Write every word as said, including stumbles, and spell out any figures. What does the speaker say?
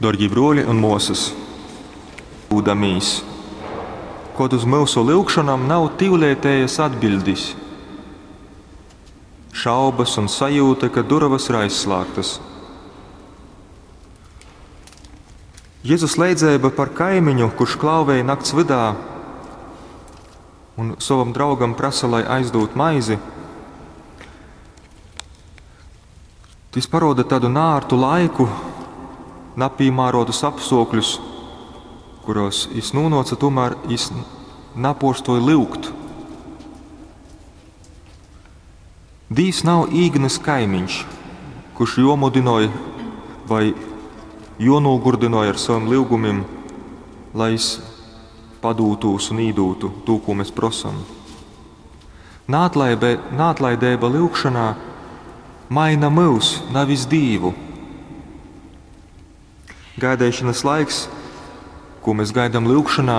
Dārgie bruoli un muosys, lūdamīs, kod uz myusu lyugšonom nav tiuleitējas atbiļdis. Šaubas un sajūta, ka durovas ir aizslāgtas. Jezus leidzeiba par kaimiņu, kurš klauvej nakts vydā un sovam draugam prasa, lai aizdūd maizi, tys paroda tādu nārtu laiku, napīmārotus apstuokļus, kuros jis nūnuoca, tomēr jis napuorstuoja lyugt. Dīvs nav īgnys kaimiņš, kurš jomudynoj vai jonūgurdynoj ar saviem lyugumim, lai jis padūtūs un īdūtu to, ko mēs prosam. Naatlaibe, naatlaideiba lyugšanā maina myus, nevis Dīvu. Gaidīšanas laiks, ko mēs gaidām lyugšanā,